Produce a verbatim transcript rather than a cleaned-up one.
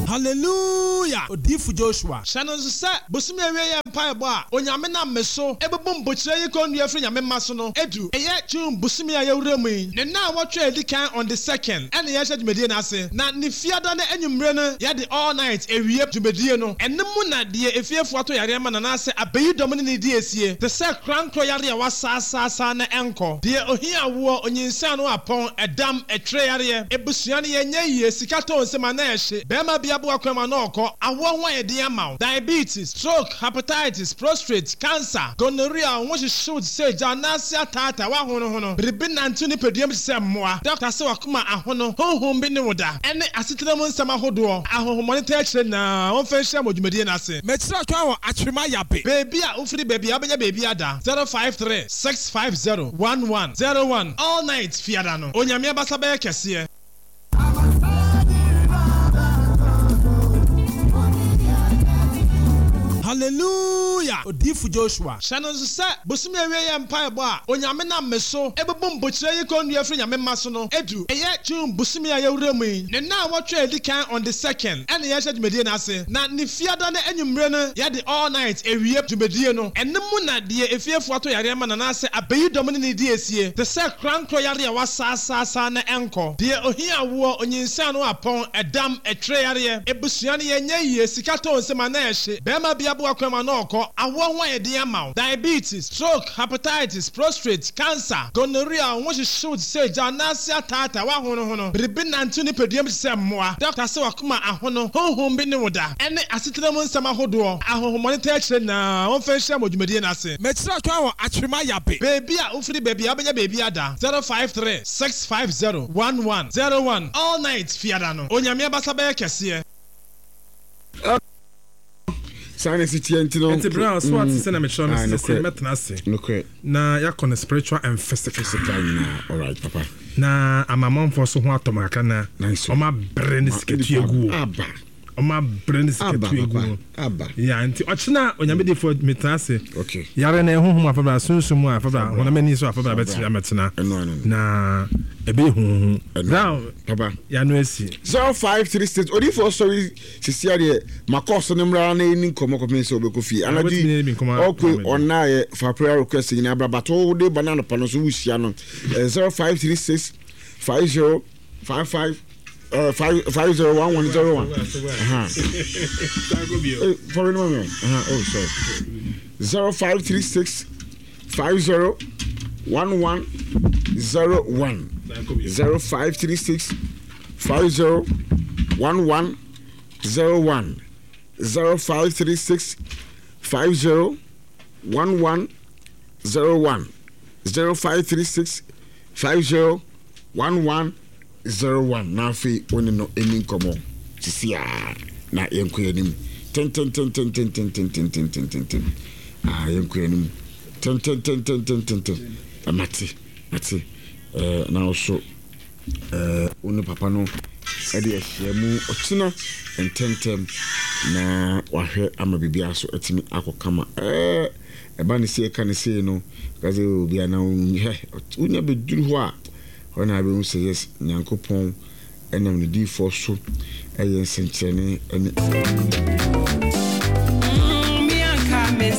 Hallelujah! Odiyifo Joshua. Hyɛ no nso sɛ, bosome awieeɛ mpaebɔ a Onyame nam me so ɛbubu mpokyerɛ yi kɔnnua firi Nyame mma so no adu. Ɛyɛ June bosome a yɛwura mu yi ne nnawɔtwe a ɛdi kan on the second ɛna yɛhyɛ dwumadie no ase, na ne fiada no anwummere no yɛde all night awie dwumadie no. Ɛno mu na deɛ efiefoɔ ato yareɛ ma no anaasɛ abayidɔm ne ne di asie te sɛ korankorɔ yareɛ a wɔasaasaasa na ɛnkɔ, deɛ ohia awoɔ, onyinsɛn ano apɔn, ɛdam, ɛtwerɛ yareɛ, abusua no yɛnyɛ yie, sika tɔ nsam a na ɛhye, barima bi aboa kwan mu a na ɔkɔ, awoɔ ho ayɛ den ama wo, diabetes, stroke, hepatitis, prostrate, cancer, gonorrhea, wo ho hyehye wo te sɛ gya, anaase ataataa, woahonohono, biribi nante wo nipadua mu te sɛ mmoa, dɔkta se w'akoma ahono, honhom bi ne wo da, ɛne asetena mu nsɛm ahodoɔ, ahonhommɔne taa kyerɛ nyinaa, wɔmfa nhyia mo dwumadie no ase. Mekyerɛ kwan wɔ Atwema Yabe. Baabi a wofiri baabi a wobɛnya baabi ada, zero five three six five zero one one zero one All night Fiada no, Onyame abasa bɛyɛ kɛseɛ. Hallelujah! Odiyifo Joshua. Hyɛ no nso sɛ, bosome awieeɛ mpaebɔ a Onyame nam me so ɛbubu mpokyerɛ yi kɔnnua firi Nyame mma so no adu. Ɛyɛ June bosome a yɛwura mu yi ne nnawɔtwe a ɛdi kan on the second ɛna yɛhyɛ dwumadie no ase, na ne fiada no anwummere no yɛde all night awie dwumadie no. Ɛno mu na deɛ efiefoɔ ato yareɛ ma no anaasɛ abayidɔm ne ne di asie te sɛ korankorɔ yareɛ a wɔasaasaasa na ɛnkɔ, deɛ ohia awoɔ, onyinsɛn ano apɔn, ɛdam, ɛtwerɛ yareɛ, abusua no yɛnyɛ yie, sika tɔ nsam a na ɛhye, barima bi aboa kwan mu a na ɔkɔ, awoɔ ho ayɛ den ama wo, diabetes, stroke, hepatitis, prostrate, cancer, gonorrhea, wo ho hyehye wo te sɛ gya, anaase ataataa, woahonohono, biribi nante wo nipadua mu te sɛ mmoa, dɔkta se w'akoma ahono, honhom bi ne wo da, ɛne asetena mu nsɛm ahodoɔ, ahonhommɔne taa kyerɛ nyinaa, wɔmfa nhyia mo dwumadie no ase. Mekyerɛ kwan wɔ Atwema Yabe. Baabi a wofiri baabi a wobɛnya baabi ada, zero five three six five zero one one zero one All night Fiada no, Onyame abasa bɛyɛ kɛseɛ. Saa na ɛsi teɛ nti no. Nti bere a so ate sɛ na mekyerɛ no Ah, sɛ sɛ nokorɛ. mɛtena ase Nokorɛ. na yɛakɔ no spiritual and physical Physical nyinaa. Alright, papa. Na amamanfoɔ so ho atɔ m kakra na Nice one. ɔma brɛ ne sikatua gu o Aba. Ɔma brɛ ne Aba, sikatua gu papa. o Aba. Ya nti ɔkyena Onyame difoɔ metena ase. Okay. Yare no ɛhohom afabra, sunsum mu afabra, Fabra. honam ani so afabra Fabra. bɛtena mɛtena Ɛno ano no. Na ɛbɛyɛ huhu Ɛno now ano. Papa. yɛano asi. Zero five three six odiifoɔ sɔre sisi adeɛ makɔ so no mmra na ɛni nkɔmmɔ kɔpem sɛ wobɛkɔ fie wobɛtumi ne bi anadwo nkɔmmɔ ɔkwe ama me. Ɔnaayɛ fa prayer request nyinaa bra bato wode ba no anɔpa no so wohyia no zero five three six five zero five five uh, five five zero one one zero one. Fɔwe no ma me. Oh, sorry. Zero five three six five zero one one zero one zero five three six five zero one one zero one zero five three six five zero one one zero one zero five three six five zero one one zero one Na afei wo ne no ɛni nkɔmmɔ sisi a na yɛnkɔ yɛn anim tententententententententententen. Ah, yɛnkɔ yɛn anim tententententententen. Mate mate ɛɛ na wo ɛɛ wo ne papa no ɛde ahyia mu ɔkyena ntɛntɛm na wahwɛ ama biribiara so atumi akɔ kama. ɛɛ ɛba ne sei ɛka ne sei no ka sɛ obi a na hɛ wonya bɛduru hɔ a hɔ na abɛhu sɛ yes, Nyankopɔn ɛnam ne diifoɔ so ɛyɛ nsɛnkyerɛnne ɛne Me anka me